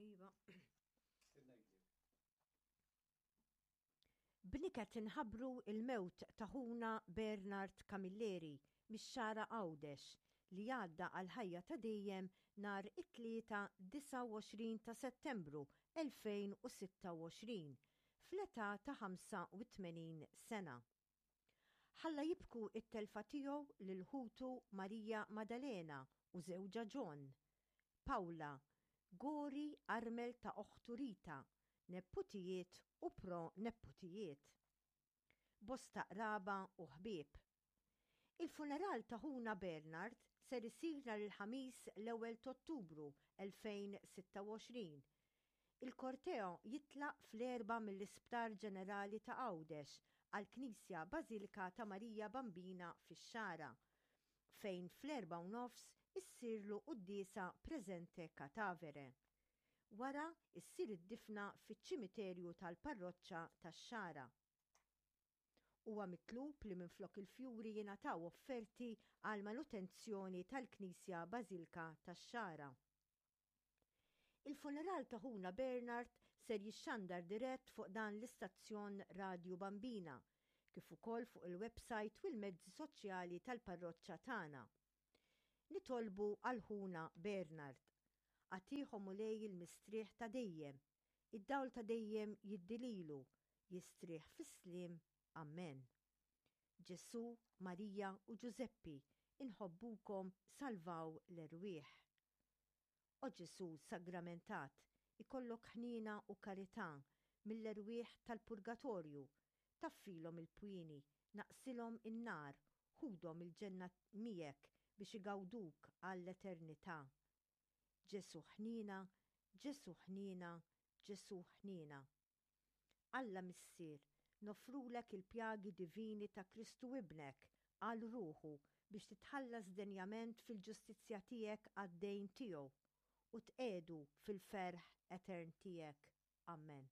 Iva. B'niket inħabbru l-mewt ta' ħuna Bernard Camilleri mix-Xagħra Għawdex li għadda għall-ħajja ta' dejjem nhar it-Tlieta 29 ta' Settembru 2026 fl-età ta' 85 sena. Ħalla jibku t-telfa tiegħu lil ħutu Maria Madalena u żewġha John, Paula, Gori armel ta' oħtu Rita, neputijiet u pro-neputijiet. Bosta qraba u ħbieb. Il-funeral ta' ħuna Bernard ser isir nhar il-Ħamis l-ewwel t'Ottubru 2026. Il-korteo jitlaq fl-erbgħa mill-Isptar Ġenerali ta' Għawdex għall-Knisja Bażilika ta' Marija Bambina fix-Xagħra, fejn fl-erbgħa u nofs issirlu quddiesa presente catavere. Wara ssir id-difna fiċ-ċimiterju tal-Parroċċa tax-Xagħra. Huwa mitlub li minflok il-fjuri jingħataw offerti għall-manutenzjoni tal-Knisja Bażilka tax-Xagħra. Il-funeral ta' ħuna Bernard ser jixxandar dirett fuq dan l-istazzjon Radju Bambina, kif ukoll fuq il-websajt u l-mezzi soċjali tal-parroċċa tagħna. Nitolbu għal ħuna Bernard. Agħtih o Mulej il-mistrieħ ta' dejjem, id-dawl ta' dejjem jiddi lilu, jistrieħ fis-sliem. Ammen. Ġesù, Marija u Ġużeppi, inħobbukom salvaw l-erwieħ. O Ġesù Sagramentat, ikollok ħniena u karità mill-erwieħ tal-purgatorju, taffilhom il-pwieni, naqqsilhom in-nar, ħudhom il-ġenna miegħek biex igawduk għall-eternità. Ġesù ħniena, Ġesù ħniena, Ġesù ħniena. Alla Missier, noffrulek il-pjagi divini ta' Kristu Ibnek għal ruħu biex titħallas denjament fil-ġustizzja tiegħek għad-dejn tiegħu, u tqiegħdu fil-ferħ etern tiegħek. Ammen.